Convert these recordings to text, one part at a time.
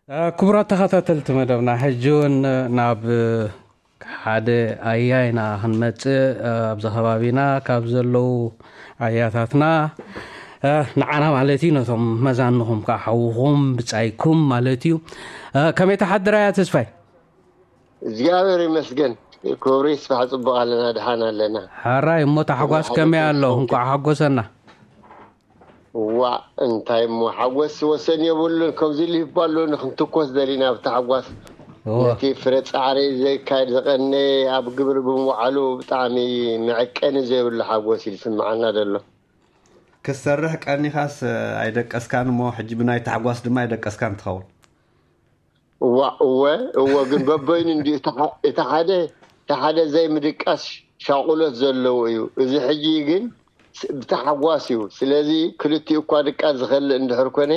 ክቡራት ተኸታተልቲ መደብና፣ ሕጂ እውን ናብ ሓደ ኣያ ኢና ክንመጽእ። ኣብዚ ከባቢና ካብ ዘለዉ ኣያታትና፣ ንዓና ማለት እዩ፣ ነቶም መዛንኹም ከዓ ሓውኹም ብጻይኩም ማለት እዩ። ከመይ ተሓድራ ኣያ ተስፋይ? እግዚኣብሔር ይመስገን። ክብሪ ይስፋሕ፣ ጽቡቕ ኣለና፣ ድሓን ኣለና። ሓራይ እሞ፣ ታሕጓስ ከመይ ኣሎ? እንኳዕ ሓጎሰና። ዋእ፣ እንታይ እሞ ሓጎስ ወሰን የብሉን። ከምዚ ኢሉ ይባል ኣሎ፣ ንክንትኮስ ደሊና ብታሕጓስ። እወ። ነቲ ፍረ ጻዕሪ ዘካየድ ዝቐነየ ኣብ ግብሪ ብምውዓሉ ብጣዕሚ መዐቀኒ ዘይብሉ ሓጎስ እዩ ዝስምዓና ዘሎ። ክትሰርሕ ቀኒኻስ ኣይደቀስካን እሞ፣ ሕጂ ብናይ ታሕጓስ ድማ ኣይደቀስካን ትኸውን። እዋ፣ እወ፣ እወ፣ ግን በበይኑ እንዲ፣ እቲ ሓ-፣ እቲ ሓደ፣ እቲ ሓደ ዘይምድቃስ ሻቑሎት ዘለዎ እዩ። እዚ ሕጂ ግን ስ-፣ ብታሕጓስ እዩ። ስለዚ ክልቲኡ እኳ ድቃስ ዝኸልእ እንድሕር ኮነ፣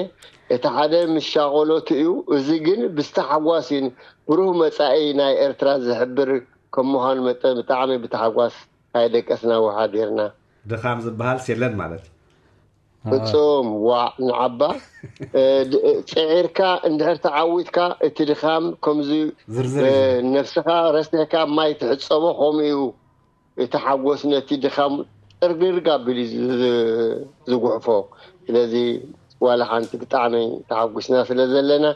እቲ ሓደ ምስ ሻቑሎቱ እዩ፣ እዚ ግን ብዝተሓጓስ እዩ። ብሩህ መጻኢ ናይ ኤርትራ ዝሕብር ከም ምዃኑ መጠን ብጣዕሚ ብታሕጓስ ኣይደቀስና ውሓዲርና። ድኻም ዝበሃልስ የለን ማለት እዩ። ፍጹም፣ ዋዕ ንዓባ። እ፣ ድ-፣ እ፣ ጽዒርካ እንድሕር ተዓዊትካ እቲ ድኻም ከምዚ፣ ዝርዝር እ፣ እዩ። ነብስኻ ረሲሕካ ማይ ትሕጸቦ ከምኡ እዩ። እቲ ሓጎስ ነቲ ድኻም ጥርግርግ ኣቢሉ እዩ ዝ-፣ ዝ-፣ ዝጉሕፎ። ስለዚ ዋላ ሓንቲ ብጣዕሚ ተሓጒስና ስለ ዘለና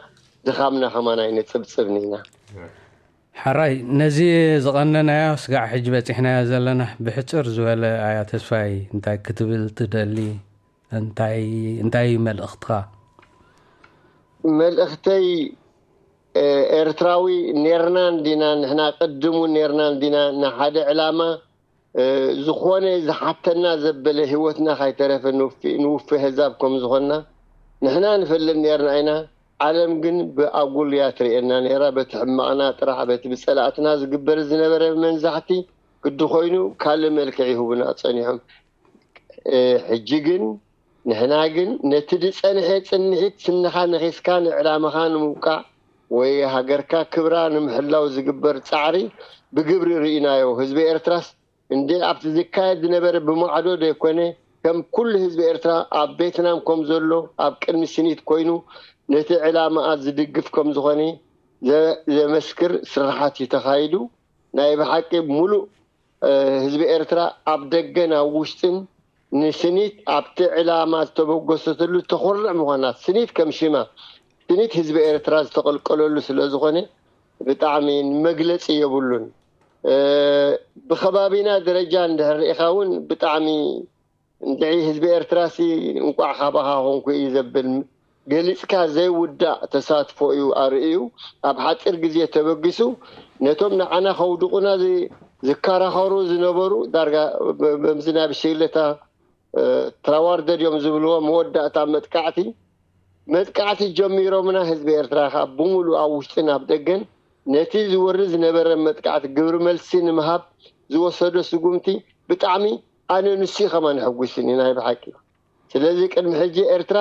ድኻምና ከማን ኣይነጽብጽብን ኢና። ሕራይ፣ ነዚ ዝቐነናዮ ስጋዕ ሕጂ በጺሕናዮ ዘለና፣ ብሕጽር ዝበለ ኣያ ተስፋይ እንታይ ክትብል ትደሊ? እንታይ፣ እንታይ እዩ መልእኽትኻ? መልእኽተይ፣ እ፣ ኤርትራዊ ኔርና እንዲና፣ ንሕና ቅድሙ ኔርና እንዲና፣ ንሓደ ዕላማ፣ እ፣ ዝኾነ ዝሓተና ዘበለ ህይወትና ካይተረፈ ንውፊ-፣ ንውፊ ህዛብ ከም ዝኾንና ንሕና ንፈልጥ ኔርና ኢና። ዓለም ግን ብኣጉል እያ ትርእየና ነይራ። በቲ ሕማቕና ጥራሕ፣ በቲ ብጸላእትና ዝግበር ዝነበረ መንዛሕቲ ግዲ ኮይኑ ካልእ መልክዕ ይህቡና ጸኒሖም። እ፣ ሕጂ ግን ንሕና ግን ነቲ ዝጸንሐ ጽንሒት ስንኻ ነኺስካ ንዕላማኻ ንምብቃዕ ወይ ሃገርካ ክብራ ንምሕላው ዝግበር ጻዕሪ ብግብሪ ርኢናዮ። ህዝቢ ኤርትራስ እንዴ ኣብቲ ዝካየድ ዝነበረ ብማዕዶ ዘይኮነ፣ ከም ኩሉ ህዝቢ ኤርትራ ኣብ ቬትናም ከም ዘሎ ኣብ ቅድሚ ስኒት ኮይኑ ነቲ ዕላማኣ ዝድግፍ ከም ዝኾነ ዘ-፣ ዘመስክር ስራሓት እዩ ተኻይዱ። ናይ ብሓቂ ሙሉእ፣ እ፣ ህዝቢ ኤርትራ ኣብ ደገን ኣብ ውሽጥን ንስኒት ኣብቲ ዕላማ ዝተበገሰትሉ ተኾርዕ ምዃና፣ ስኒት ከም ሽማ፣ ስኒት ህዝቢ ኤርትራ ዝተቐልቀለሉ ስለ ዝኾነ ብጣዕሚ መግለጺ የብሉን። እ፣ ብኸባቢና ደረጃ እንድሕር ርኢኻ እውን ብጣዕሚ እንድዒ ህዝቢ ኤርትራሲ እንቋዕ ካባኻ ኾንኩ እዩ ዘብል፣ ገሊጽካ ዘይውዳእ ተሳትፎ እዩ ኣርእዩ። ኣብ ሓጺር ግዜ ተበጊሱ ነቶም ንዓና ከውድቑና ዝ-፣ ዝከራኸሩ ዝነበሩ ዳርጋ ብ-፣ በምዚ ናይ ብሽግለታ፣ እ፣ ትራዋርደድ እዮም ዝብልዎ መወዳእታ መጥቃዕቲ፣ መጥቃዕቲ ጀሚሮምና ህዝቢ ኤርትራ ከኣ ብምሉእ ኣብ ውሽጥን ኣብ ደገን ነቲ ዝወርድ ዝነበረ መጥቃዕቲ ግብሪ መልሲ ንምሃብ ዝወሰዶ ስጉምቲ ብጣዕሚ ኣነ ንሱ እዩ ከማን የሐጉስኒ ናይ ብሓቂ። ስለዚ ቅድሚ ሕጂ ኤርትራ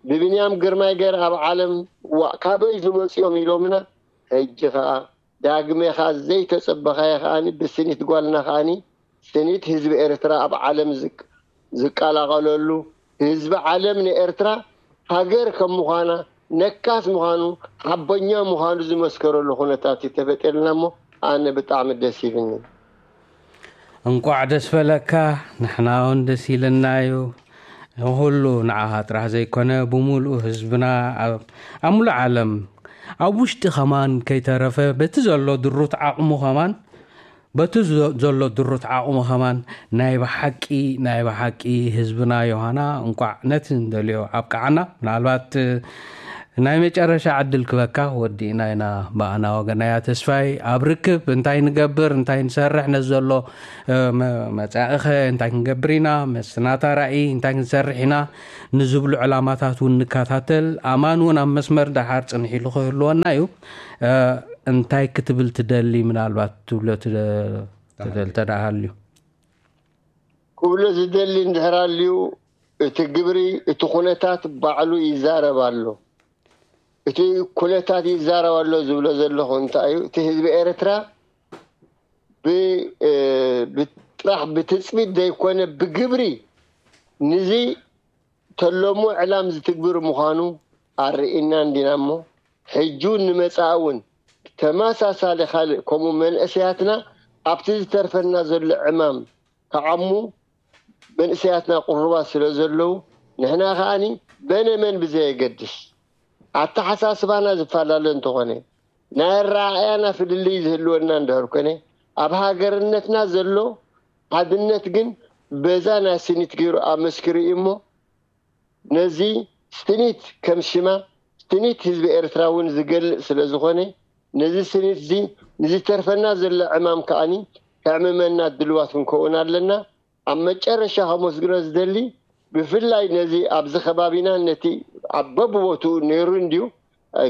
ብብንያም ግርማይ ገይራ ኣብ ዓለም ዋእ ካበይ ዝመጽኦም ኢሎምና፣ ሕጂ ከኣ ዳግሜኻ ዘይተጸበኻዮ ከኣኒ ብስኒት ጓልና ከኣኒ ስኒት ህዝቢ ኤርትራ ኣብ ዓለም ዝቅ-፣ ዝቀላቐለሉ፣ ህዝቢ ዓለም ንኤርትራ ሃገር ከም ምዃና፣ ነካስ ምዃኑ፣ ሓቦኛ ምዃኑ ዝመስከረሉ ኩነታት እዩ ተፈጢርልና እሞ ኣነ ብጣዕሚ ደስ ይብልኒ። እንቋዕ ደስ በለካ፣ ንሕና እውን ደስ ኢልና እዩ። ኩሉ ንዓኻ ጥራሕ ዘይኮነ፣ ብምሉእ ህዝብና ኣብ፣ ኣብ ሙሉእ ዓለም፣ ኣብ ውሽጢ ከማን ከይተረፈ፣ በቲ ዘሎ ድሩት ዓቕሙ ከማን፣ በቲ ዘ-፣ ዘሎ ድሩት ዓቕሙ ከማን፣ ናይ ብሓቂ፣ ናይ ብሓቂ ህዝብና ዮሃና፣ እንቋዕ ነቲ እንደልዮ ኣብቅዓና። ምናልባት፣ ናይ መጨረሻ ዕድል ክበካ ወዲእና ኢና። ብኣና ወገናያ ተስፋይ፣ ኣብ ርክብ እንታይ ንገብር፣ እንታይ ንሰርሕ፣ ነዚ ዘሎ፣ እ፣ መ-፣ መጻኢኸ እንታይ ክንገብር ኢና፣ ምስናታ ራእይ እንታይ ክንሰርሕ ኢና ንዝብሉ ዕላማታት እውን ንከታተል። ኣማን እውን ኣብ መስመር ደሓር ጽንሕ ኢሉ ክህልወና እዩ። እ፣ እንታይ ክትብል ትደሊ፣ ምናልባት ትብሎ ትደ-፣ ትደል-፣ ተደኣ ሃልዩ? ክብሎ ዝደሊ እንድሕር ኣልዩ፣ እቲ ግብሪ፣ እቲ ኩነታት ባዕሉ ይዛረብ ኣሎ። እቲ ኩነታት ይዛረብ ኣሎ ዝብሎ ዘለኹ እንታይ እዩ? እቲ ህዝቢ ኤርትራ ብ-፣ እ፣ ብጥራሕ ብትጽቢት ዘይኮነ ብግብሪ ንዚ ተለሞ ዕላም ዝትግብር ምዃኑ ኣርኢና እንዲና እሞ፣ ሕጂ እውን ንመጻኢ እውን ተመሳሳሊ ካልእ ከምኡ መንእሰያትና ኣብቲ ዝተርፈና ዘሎ ዕማም ክዓሙ መንእሰያትና ቅሩባት ስለ ዘለዉ፣ ንሕና ከኣኒ በነ መን ብዘየገድስ ኣተሓሳስባና ዝፈላለ እንተኾነ፣ ናይ ኣረኣእያና ፍልልይ ዝህልወና እንድሕር ኮነ፣ ኣብ ሃገርነትና ዘሎ ሓድነት ግን በዛ ናይ ስኒት ገይሩ ኣመስኪሩ እዩ እሞ፣ ነዚ ስኒት ከም ሽማ ስኒት ህዝቢ ኤርትራ እውን ዝገልጽ ስለ ዝኾነ፣ ነዚ ስኒት እዚ ንዝተርፈና ዘሎ ዕማም ከኣኒ ከዕምመና ድልዋት ክንከውን ኣለና። ኣብ መጨረሻ ከመስግኖ ዝደሊ ብፍላይ ነዚ ኣብዚ ከባቢና ነቲ ኣብ በብቦትኡ ነይሩ እንድዩ፣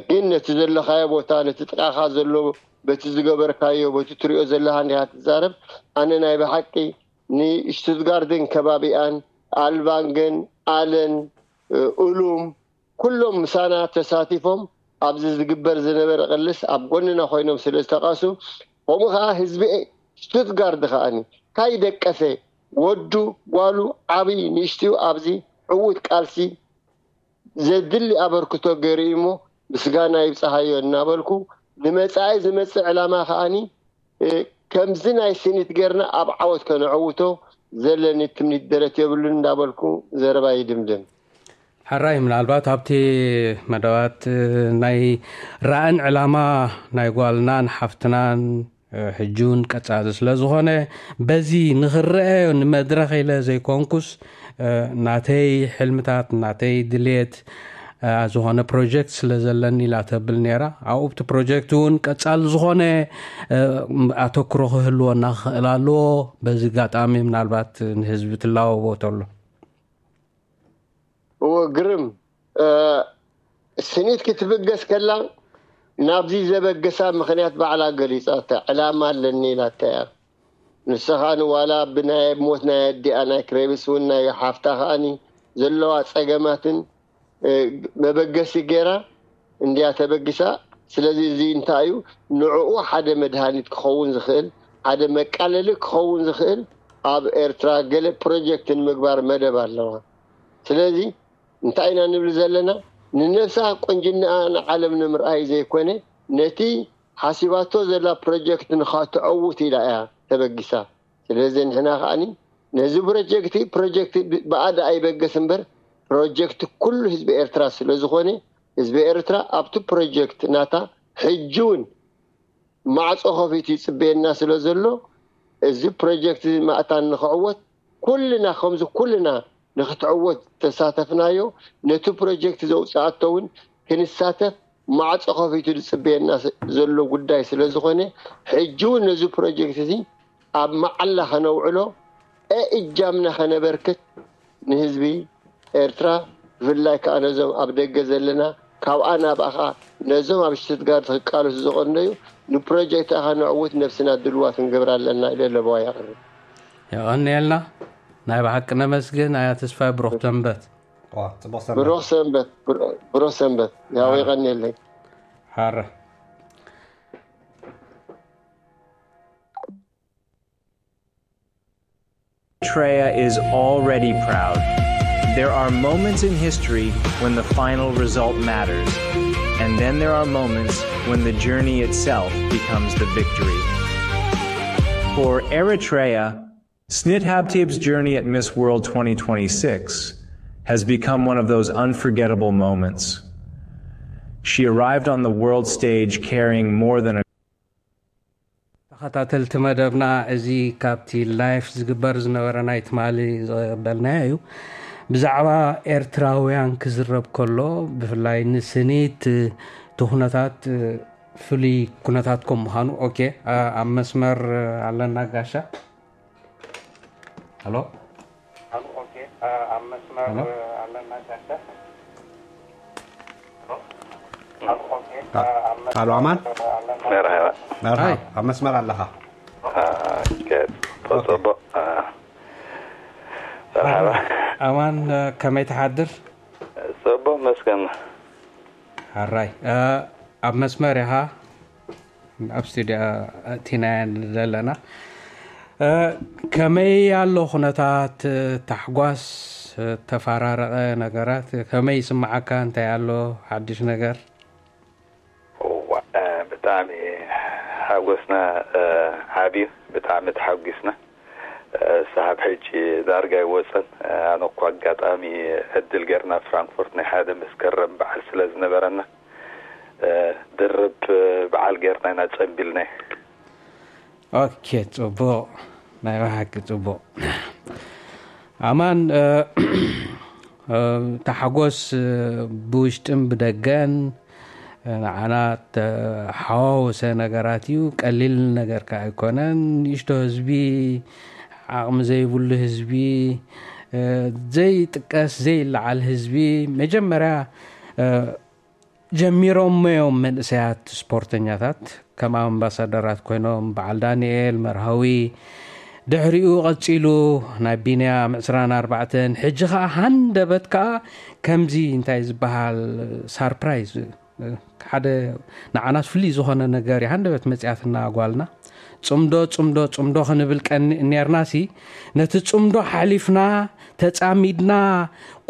ግን ነቲ ዘለኻዮ ቦታ፣ ነቲ ጥቓኻ ዘሎ፣ በቲ ዝገበርካዮ፣ በቲ ትሪኦ ዘለኻ እንዲኻ ትዛረብ። ኣነ ናይ ብሓቂ ንሽቱትጋርድን ከባቢኣን፣ ኣልቫንገን፣ ኣለን፣ ኡሉም፣ ኩሎም ምሳና ተሳቲፎም ኣብዚ ዝግበር ዝነበረ ቅልስ ኣብ ጎንና ኮይኖም ስለ ዝተቃሱ፣ ከምኡ ከዓ ህዝቢ ሽቱትጋርድ ከዓኒ ካይደቀሰ ወዱ፣ ጓሉ፣ ዓብይ ንእሽትኡ ኣብዚ ዕዉት ቃልሲ ዘድሊ ኣበርክቶ ገይሩ እዩ እሞ ምስጋና ይብፅሃዮ እናበልኩ፣ ንመፃኢ ዝመፅእ ዕላማ ከዓኒ ከምዚ ናይ ስኒት ጌርና ኣብ ዓወት ከነዕውቶ ዘለኒ ትምኒት ደረት የብሉን እንዳበልኩ ዘረባ ይድምድም። ሕራይ ምናልባት ኣብቲ መደባት ናይ ራእን ዕላማ ናይ ጓልናን ሓፍትናን ሕጂ እውን ቀጻሊ ስለ ዝኾነ በዚ ንኽረአዮ ንመድረኽ ኢለ ዘይኮንኩስ ናተይ ሕልምታት ናተይ ድልየት ዝኾነ ፕሮጀክት ስለ ዘለኒ ኢላ ተብል ነይራ። ኣብኡ ኣብቲ ፕሮጀክት እውን ቀጻሊ ዝኾነ ኣተኩሮ ክህልወና ክኽእል ኣለዎ። በዚ ኣጋጣሚ ምናልባት ንህዝቢ ትላበቦ ተሎ። እወ ግርም። ስኒት ክትብገስ ከላ ናብዚ ዘበገሳ ምኽንያት ባዕላ ገሊጻታ። ዕላማ ኣለኒ ኢላታ እያ። ንስኻ ንዋላ ብናይ ሞት ናይ ኣዲኣ ናይ ክሬብስ እውን ናይ ሓፍታ ከኣኒ ዘለዋ ጸገማትን መበገሲ ገይራ እንድያ ተበጊሳ። ስለዚ እዚ እንታይ እዩ ንዕኡ ሓደ መድሃኒት ክኸውን ዝኽእል፣ ሓደ መቃለሊ ክኸውን ዝኽእል ኣብ ኤርትራ ገለ ፕሮጀክት ንምግባር መደብ ኣለዋ። ስለዚ እንታይ ኢና ንብል ዘለና? ንነብሳ ቁንጅናኣ ንዓለም ንምርኣይ ዘይኮነ ነቲ ሓሲባቶ ዘላ ፕሮጀክት ንኸተዕውት ኢላ እያ ተበጊሳ። ስለዚ ንሕና ከዓኒ ነዚ ፕሮጀክት ፕሮጀክት ብኣደ ኣይበገስ እምበር ፕሮጀክት ኩሉ ህዝቢ ኤርትራ ስለ ዝኾነ ህዝቢ ኤርትራ ኣብቲ ፕሮጀክት ናታ ሕጂ እውን ማዕጾ ከፊቱ ይጽበየና ስለ ዘሎ እዚ ፕሮጀክት ማእታን ንኽዕወት ኩልና ከምዚ ኩልና ንክትዕወት ተሳተፍናዮ ነቲ ፕሮጀክት ዘውፅኣቶ እውን ክንሳተፍ ማዕፆ ከፊቱ ዝፅበየና ዘሎ ጉዳይ ስለ ዝኾነ ሕጂ እውን ነዚ ፕሮጀክት እዚ ኣብ መዓላ ከነውዕሎ እእጃምና ከነበርክት ንህዝቢ ኤርትራ ብፍላይ ከዓ ነዞም ኣብ ደገ ዘለና ካብኣ ናብኣኻ ነዞም ኣብ ሽትትጋርት ክቃለሱ ዝቐነዩ ንፕሮጀክት ኣኻ ንዕውት ነብስና ድልዋት ክንገብር ኣለና ኢለ ለበዋ የቕርብ። የቐንየልና። ናይ ብሓቂ ነመስግን። ኣያ ተስፋይ ብሩኽ ሰንበት። ጽቡቕ ሰንበት። ብሩኽ ሰንበት። ብሩኽ ሰንበት። ያው የቐንየለይ። ሓረ Eritrea is already proud. There are moments in history when the final result matters, and then there are moments when the journey itself becomes the victory. For Eritrea, Snit Habtib's journey at Miss World twenty twenty-six has become one of those unforgettable moments. She arrived on the world stage carrying more than a ተኸታተልቲ መደብና እዚ ካብቲ ላይፍ ዝግበር ዝነበረ ናይ ትማሊ ዝቐበልናዮ እዩ። ብዛዕባ ኤርትራውያን ክዝረብ ከሎ ብፍላይ ንስኒት እቲ ኩነታት ፍሉይ ኩነታት ከም ምዃኑ ኦኬ ኣብ መስመር ኣለና ጋሻ። ሄሎ ቃሉ ኣማን መርሃባ መርሃ ኣብ መስመር ኣለኻ ጽቡቅ መርሃባ ኣማን ከመይ ትሓድር? ጽቡቅ መስገን ሓራይ ኣብ መስመር ኢኻ ኣብ ስቱድዮ እቲና ዘለና ከመይ ኣሎ ኩነታት ታሕጓስ ተፈራረቐ ነገራት ከመይ ይስምዓካ እንታይ ኣሎ ሓድሽ ነገር ብጣዕሚ ሓጎስና ዓብዩ። ብጣዕሚ ተሓጒስና። ሳብ ሕጂ ዳርጋ ይወፀን። ኣነ እኮ ኣጋጣሚ ዕድል ጌርና ፍራንክፎርት ናይ ሓደ መስከረም በዓል ስለ ዝነበረና ድርብ በዓል ጌርና ኢና ጸንቢልና። ኦኬ፣ ጽቡቕ። ናይ ብሓቂ ጽቡቕ። ኣማን፣ ተሓጎስ ብውሽጥን ብደገን ንዓና ተሓዋወሰ ነገራት እዩ። ቀሊል ነገር ከኣ ኣይኮነን። ንእሽቶ ህዝቢ፣ ዓቕሚ ዘይብሉ ህዝቢ፣ ዘይጥቀስ ዘይለዓል ህዝቢ፣ መጀመርያ ጀሚሮሞ እዮም መንእሰያት ስፖርተኛታት ከም ኣምባሳደራት ኮይኖም፣ በዓል ዳንኤል መርሃዊ፣ ድሕሪኡ ቀጺሉ ናይ ቢንያም ዕስራን ኣርባዕተን፣ ሕጂ ኸኣ ሃንደበት ከኣ ከምዚ እንታይ ዝበሃል ሳርፕራይዝ፣ ሓደ ንዓናስ ፍልይ ዝኾነ ነገር እዩ። ሃንደበት መጽያትና ጓልና። ጽምዶ ጽምዶ ጽምዶ ክንብል ቀኒ ኔርናሲ፣ ነቲ ጽምዶ ሓሊፍና ተጻሚድና፣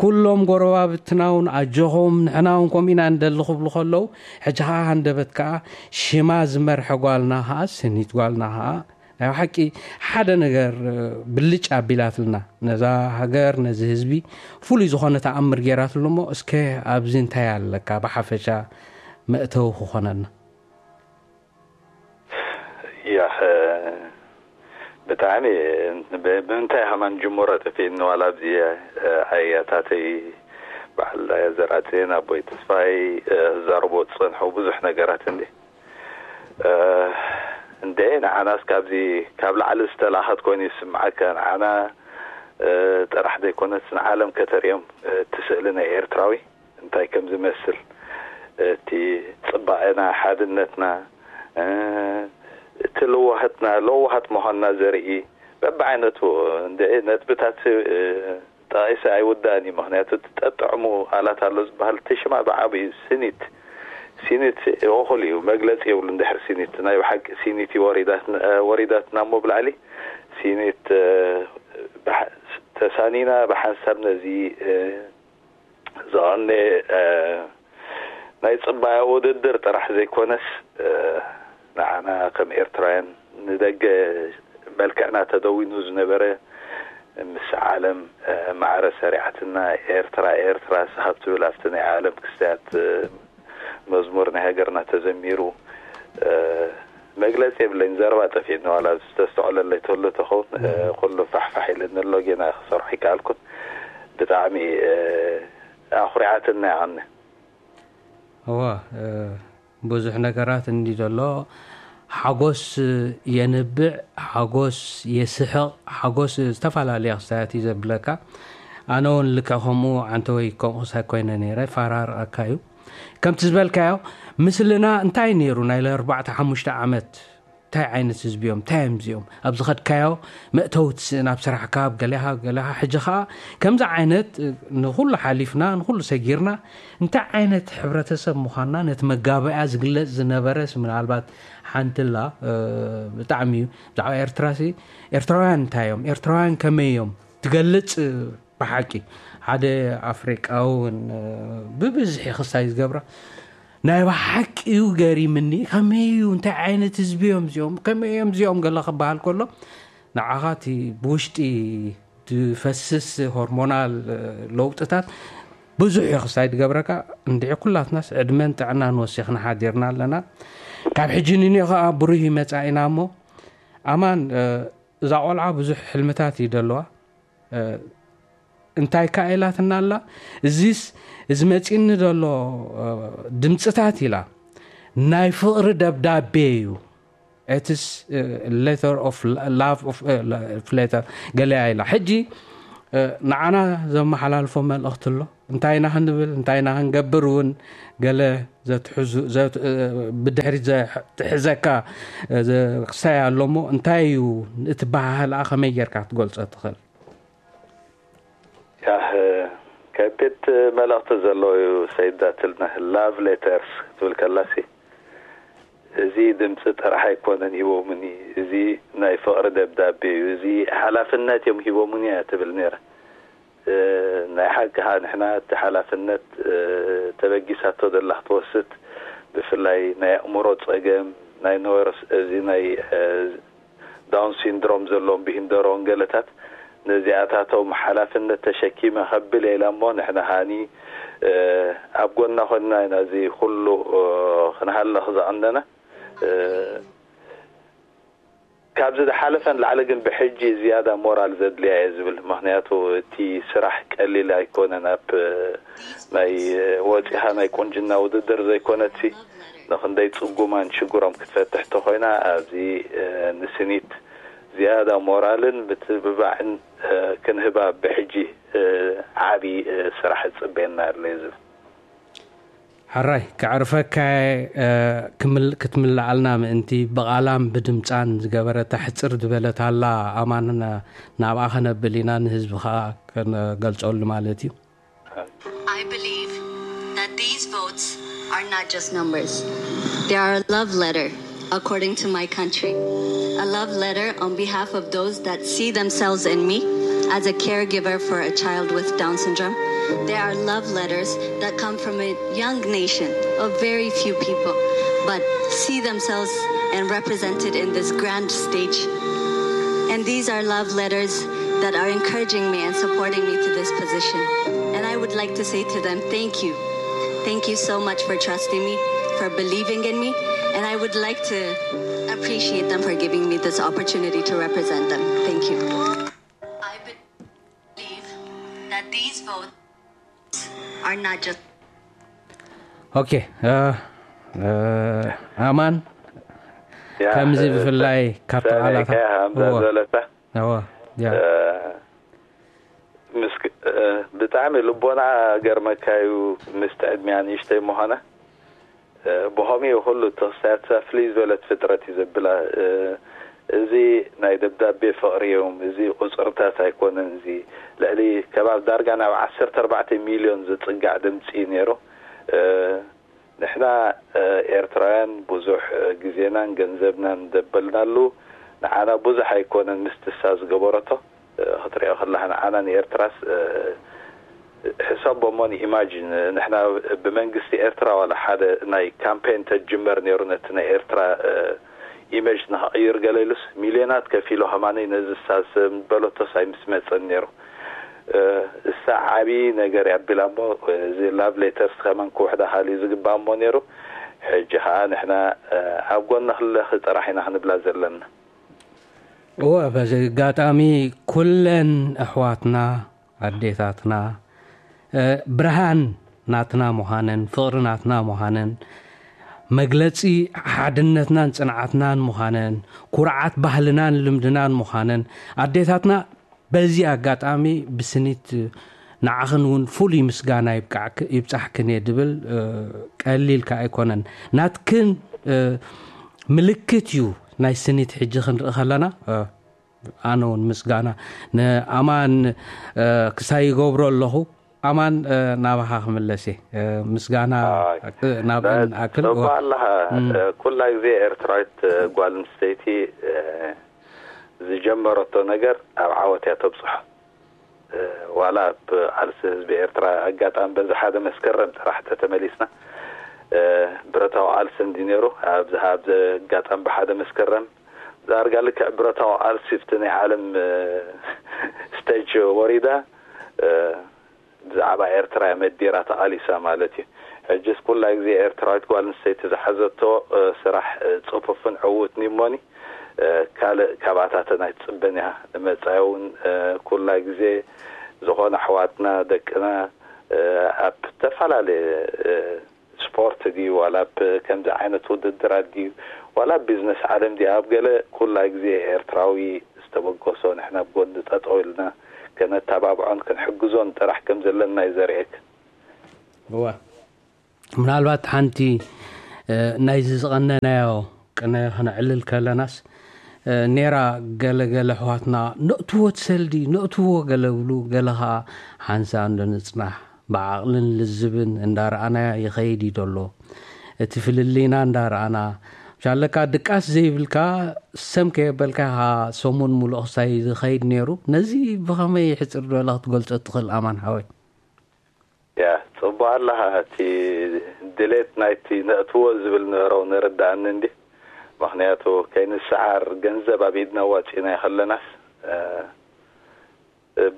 ኩሎም ጎረባብትና እውን ኣጆኹም ንሕና እውን ከምኡ ኢና ንደሊ ክብሉ ከለዉ፣ ሕጂ ኸዓ ሃንደበት ከኣ ሽማ ዝመርሐ ጓልና ኸዓ ስኒት ጓልና ኸዓ ናይ ብሓቂ ሓደ ነገር ብልጭ ኣቢላትልና፣ ነዛ ሃገር ነዚ ህዝቢ ፍሉይ ዝኾነ ተኣምር ጌራትሉ። እሞ እስከ ኣብዚ እንታይ ኣለካ ብሓፈሻ መእተዊ ክኾነና? ያህ ብጣዕሚ ብ- ብምንታይ ከማን ጅምሮ ጠፊእኒ። ዋላ ኣብዚ ኣያታተይ በዓል ዘርኣጽዮን ኣቦይ ተስፋይ ዘርቦ ዝጸንሑ ብዙሕ ነገራት እንዲ እንደ ንዓናስ ካብዚ ካብ ላዕሊ ዝተላኸት ኮይኑ ይስምዓካ። ንዓና ጥራሕ ዘይኮነስ ንዓለም ከተርእዮም እቲ ስእሊ ናይ ኤርትራዊ እንታይ ከም ዝመስል፣ እቲ ጽባቐና፣ ሓድነትና፣ እቲ ለዋህትና፣ ለዋሃት ምዃንና ዘርኢ በብዓይነቱ እንደ ነጥብታት ጠቒሰ ኣይውዳእን እዩ። ምኽንያቱ እቲ ጠጥዕሙ ኣላት ኣሎ ዝበሃል እቲ ሽማ ብዓብዩ ስኒት፣ ሲኒት እኹል እዩ፣ መግለጺ የብሉን። ድሕሪ ሲኒት ናይ ብሓቂ ሲኒት እዩ ወሪዳትና እሞ ብላዕሊ ሲኒት ተሳኒና ብሓንሳብ ነዚ ዝቐነ ናይ ጽባቐ ውድድር ጥራሕ ዘይኮነስ ንዓና ከም ኤርትራውያን ንደገ መልክዕና ተደዊኑ ዝነበረ ምስ ዓለም ማዕረ ሰሪዓትና ኤርትራ ኤርትራ ስሃብ ትብል ኣብቲ ናይ ዓለም ክስተያት መዝሙር ናይ ሃገርና ተዘሚሩ መግለጺ የብለይን። ዘረባ ጠፊእኒ ዋላ ዝተስተዖለለይ ተሎ ተኸውን ኩሉ ፋሕፋሕ ኢለኒ ኣሎ ጌና ክሰርሖ ይከኣልኩን ብጣዕሚ ኣኹሪዓትና ያቐኒ። እዋ ብዙሕ ነገራት እንዲ ዘሎ ሓጎስ የንብዕ፣ ሓጎስ የስሕቕ፣ ሓጎስ ዝተፈላለየ ክስታያት እዩ ዘብለካ። ኣነ እውን ልክዕ ከምኡ ዓንተወይ ከምኡ ሳይኮይነ ነይረ፣ ይፈራርቐካ እዩ። ከምቲ ዝበልካዮ ምስልና እንታይ ነይሩ ናይ ኣርባዕተ ሓሙሽተ ዓመት እንታይ ዓይነት ህዝቢ እዮም እንታይ እዮም እዚኦም ኣብ ዝኸድካዮ መእተዊ ትስእን ኣብ ስራሕካ ኣብ ገሌኻ ገሌኻ ሕጂ ከዓ ከምዚ ዓይነት ንኩሉ ሓሊፍና ንኩሉ ሰጊርና እንታይ ዓይነት ሕብረተሰብ ምዃንና ነቲ መጋበያ ዝግለፅ ዝነበረስ ምናልባት ሓንትላ ብጣዕሚ እዩ ብዛዕባ ኤርትራሲ ኤርትራውያን እንታይ እዮም ኤርትራውያን ከመይ እዮም ትገልፅ ብሓቂ ሓደ ኣፍሪቃዊ እውን ብብዝሒ ክስታይ ዝገብራ ናይ ብሓቂ እዩ ገሪምኒ ከመይ እዩ እንታይ ዓይነት ህዝቢ እዮም እዚኦም ከመይ እዮም እዚኦም ገለ ክበሃል ከሎ ንዓኻ እቲ ብውሽጢ ዝፈስስ ሆርሞናል ለውጥታት ብዙሕ እዩ ክስታይ ዝገብረካ እንድዒ ኩላትናስ ዕድመን ጥዕናን ወሲኽና ሓዲርና ኣለና ካብ ሕጂ ንኒኦ ከዓ ብሩህ ይመፃ ኢና እሞ ኣማን እዛ ቆልዓ ብዙሕ ሕልምታት እዩ ደለዋ እንታይ ከኣ ኢላትና ኣላ እዚስ እዚ መጺኒ ዘሎ ድምፅታት ኢላ ናይ ፍቕሪ ደብዳቤ እዩ it's letter of love of letter ገለያ ኢላ ሕጂ ንዓና ዘመሓላልፎ መልእኽቲ ኣሎ እንታይ ኢና ክንብል እንታይ ኢና ክንገብር እውን ገለ ብድሕሪት ዝሕዘካ ክሳይ ኣሎ እሞ እንታይ እዩ እቲ ባህህልኣ ከመይ ጌርካ ክትገልፆ ትኽእል ያህ ከቢድ መልእኽቲ ዘለዎ እዩ ሰይዳትልና love letters ክትብል ከላሲ እዚ ድምፂ ጥራሕ ኣይኮነን ሂቦምኒ እዚ ናይ ፍቕሪ ደብዳቤ እዩ እዚ ሓላፍነት እዮም ሂቦምኒ እያ ትብል ነይራ ናይ ሓቂ ከዓ ንሕና እቲ ሓላፍነት ተበጊሳቶ ዘላ ክትወስድ ብፍላይ ናይ ኣእምሮ ጸገም ናይ ነርስ እዚ ናይ ዳውን ሲንድሮም ዘለዎም ብሂንደሮን ገለታት ነዚኣታቶም ሓላፍነት ተሸኪመ ከብል ኢላ እሞ ንሕና ሃኒ ኣብ ጎና ኮይንና ኢና እዚ ኩሉ ክንሃልኽ ዝቐነና። ካብዚ ዝሓለፈን ላዕሊ ግን ብሕጂ ዝያዳ ሞራል ዘድልያ እየ ዝብል። ምክንያቱ እቲ ስራሕ ቀሊል ኣይኮነን። ኣብ ናይ ወፂኻ ናይ ቁንጅና ውድድር ዘይኮነትሲ ንክንደይ ፅጉማን ሽግሮም ክትፈትሕ ተኮይና ኣብዚ ንስኒት ዝያዳ ሞራልን ምትብባዕን ክንህባ ብሕጂ ዓብዪ ስራሕ ይፅበየና ኣሎ እዩ ዝብል። ሕራይ ከዕርፈካ ክትምልዓልና ምእንቲ ብቓላን ብድምፃን ዝገበረታ ሕፅር ዝበለት ኣላ። ኣማን ናብኣ ከነብል ኢና፣ ንህዝቢ ከዓ ከነገልፀሉ ማለት እዩ። I believe that these votes are not just numbers. They are a love letter, according to my country. A love letter on behalf of those that see themselves in me as a caregiver for a child with Down syndrome. They are love letters that come from a young nation of very few people, but see themselves and represented in this grand stage. And these are love letters that are encouraging me and supporting me to this position. And I would like to say to them, thank you. Thank you so much for trusting me, for believing in me, and I would like to appreciate them for giving me this opportunity to represent them. Thank you. I believe that these votes are not just okay. ኣማን ከምዚ ብፍላይ ካብቲ ቃላታ ዘለታ እዋ ያ ምስ ብጣዕሚ ልቦና ገርመካዩ። ምስቲ ዕድሚያ ንእሽተይ ምዃና ብኸምኡ ኩሉ ተኽስያትሳ ፍልይ ዝበለት ፍጥረት እዩ ዘብላ። እዚ ናይ ደብዳቤ ፍቕሪ እዮም። እዚ ቁፅርታት ኣይኮነን። እዚ ልዕሊ ከባቢ ዳርጋ ናብ ዓሰርተ ኣርባዕተ ሚልዮን ዝፅጋዕ ድምፂ እዩ ነይሩ። ንሕና ኤርትራውያን ብዙሕ ግዜናን ገንዘብናን ዘበልናሉ ንዓና ብዙሕ ኣይኮነን። ምስቲ እሳ ዝገበረቶ ክትሪኦ ከለኻ ንዓና ንኤርትራስ ሕሰቦ እሞ ንኢማጂን ንሕና ብመንግስቲ ኤርትራ ዋላ ሓደ ናይ ካምፔን ተጅመር ነይሩ ነቲ ናይ ኤርትራ ኢመጅ ንክቕይር ገለ ኢሉስ ሚልዮናት ከፊሉ ከማነይ ነዚ እሳ ዝበለቶስ ኣይምስመፀን ነይሩ። እሳ ዓብዪ ነገር እያ ኣቢላ እሞ እዚ ላቭ ሌተርስ ከማን ክውሕዳ ካልእ ዝግባእ እሞ ነይሩ። ሕጂ ከዓ ንሕና ኣብ ጎኒ ክለኺ ጥራሕ ኢና ክንብላ ዘለና። እወ በዚ ኣጋጣሚ ኩለን ኣሕዋትና ኣዴታትና ብርሃን ናትና ምዃነን ፍቕሪ ናትና ምዃነን መግለፂ ሓድነትናን ፅንዓትናን ምዃነን ኩርዓት ባህልናን ልምድናን ምዃነን ኣዴታትና በዚ ኣጋጣሚ ብስኒት ንዓኽን እውን ፍሉይ ምስጋና ይብጻሕክን እየ ድብል ቀሊል ከ ኣይኮነን ናትክን ምልክት እዩ ናይ ስኒት ሕጂ ክንርኢ ከለና ኣነ እውን ምስጋና ንኣማን ክሳይ ይገብሮ ኣለኹ ኣማን ናባኻ ክምለስ እየ ምስጋና ናብአን ኣክል ኣለኻ ኩላ ግዜ ኤርትራዊት ጓል ኣንስተይቲ ዝጀመረቶ ነገር ኣብ ዓወት እያ ተብፅሖ ዋላ ኣብ ቃልሲ ህዝቢ ኤርትራ ኣጋጣሚ በዚ ሓደ መስከረም ጥራሕ ተተመሊስና ብረታዊ ቃልሲ እንዲ ነይሩ ኣብዚ ኣብዚ ኣጋጣሚ ብሓደ መስከረም ዳርጋ ልክዕ ብረታዊ ቃልሲ ብቲ ናይ ዓለም ስቴጅ ወሪዳ ብዛዕባ ኤርትራ እያ መዲራ ተቓሊሳ ማለት እዩ። ሕጅስ ኩላ ግዜ ኤርትራዊት ጓል ኣንስተይቲ ዝሓዘቶ ስራሕ ጽፉፍን ዕዉትን እዩ እሞኒ ካልእ ካብኣታተን ኣይትጽበን እያ። ንመጻኢ እውን ኩላ ግዜ ዝኾነ ኣሕዋትና ደቅና ኣብ ዝተፈላለየ ስፖርት ድዩ ዋላ ኣብ ከምዚ ዓይነት ውድድራት ድዩ ዋላ ኣብ ቢዝነስ ዓለም ድዩ ኣብ ገለ ኩላ ግዜ ኤርትራዊ ዝተበገሶ ንሕና ኣብ ጎኒ ጠጠው ኢልና ከነተባብዖን ክንሕግዞን ጥራሕ ከም ዘለና እዩ ዘርእየካ። እዋ ምናልባት ሓንቲ ናይዚ ዝቐነናዮ ቅነ ክነዕልል ከለናስ ኔራ ገለገለ ኣሕዋትና ነእትዎ ትሰልዲ ነእትዎ ገለ ብሉ ገለ ከዓ ሓንሳ እንዶ ንፅናሕ ብዓቕልን ልዝብን እንዳረኣናያ ይኸይድ እዩ ዘሎ እቲ ፍልልይና እንዳረኣና ሻለካ ድቃስ ዘይብልካ ሰም ከየበልካ ሰሙን ሙሉእ ክሳይ ዝኸይድ ነይሩ ነዚ ብኸመይ ሕፅር ዝበለ ክትገልፆ ትኽእል ኣማን ሓወይ ያ ጽቡቅ ኣለኻ። እቲ ድሌት ናይቲ ነእትዎ ዝብል ነበረው ንርዳእኒ እንዲ ምክንያቱ ከይንሰዓር ገንዘብ ኣብ ኢድና ዋጺእና ከለናስ